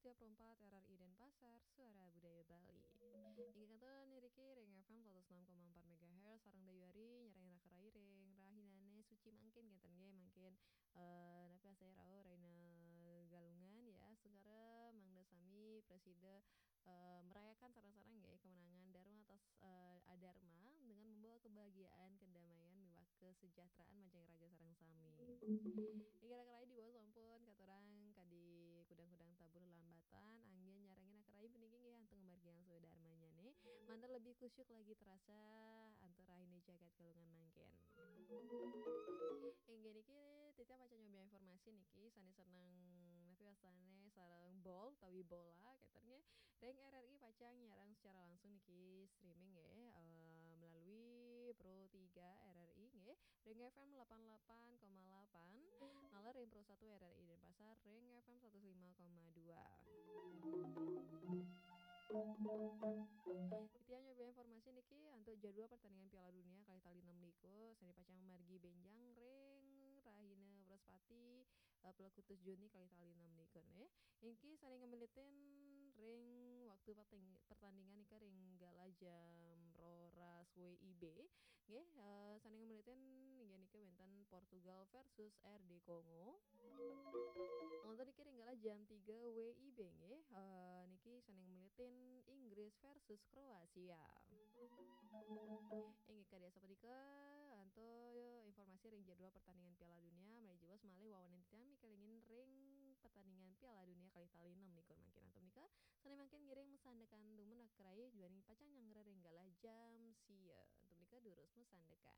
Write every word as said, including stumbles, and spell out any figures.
tiga puluh empat R R I Denpasar, Suara Budaya Bali. Inggih kantun niki ring F M seratus enam koma empat megahertz, sareng dayuari nyarengin anak rai ring rahinane suci mangkin, kenten nggih, mangkin, eh, napi asai rauh rahina Galungan ya, sengkara mangda sami prasida, eh, merayakan sareng-sareng nggih kemenangan Dharma atas, eh, Adharma dengan membawa kebahagiaan, kedamaian, miwah kesejahteraan majeng raga sareng sami. Inggih anak rai, diwasa sampun katurang kadi kudang-kudang tabuh lelambatan, anggen nyarengin anak rai puniki nggih antuk ngamargiang swadharmanyane, manten lebih khusyuk lagi terasa antuk rahina jagat Galungan mangkin. Inggih niki titiang pacang nyobi informasi niki, sane seneng napi wastane sareng bol utawi bola, kenten nggih. Ring R R I pacang nyarang secara langsung niki streaming nggih, eh, melalui Pro tiga R R I nggih, ring F M delapan delapan koma delapan, naler ring Pro satu R R I Denpasar ring F M seratus lima koma dua. Titiang nyobi informasi niki antuk jadwal pertandingan Piala Dunia kalih tali enam likur, sane pacang margi benjang ring rahina Wrespati, eh, Plekutus Juni kalih tali enam likur nggih. Inggih sane ngemilitin ring waktu perteng-, pertandingan nika ring galah jam roras W I B. Nggih, eh, sane ngemilitin inggih nika wenten Portugal versus R D Kongo. Wonten niki ring galah jam tiga W I B nggih. Eh, niki sane ngemilitin Inggris versus Kroasia. Inggih kadi asapunika antuk informasi ring jadwal pertandingan Piala Dunia, malih jiwas malih wawanin titiang mikelingin ring pertandingan Piala Dunia kalih tali enam likur mangkin. Antuk nika, sane mangkin ngiring masandekan dumun anak rai, duaning pacang nyanggra ring galah jam sia. Antuk nika durus masandekan.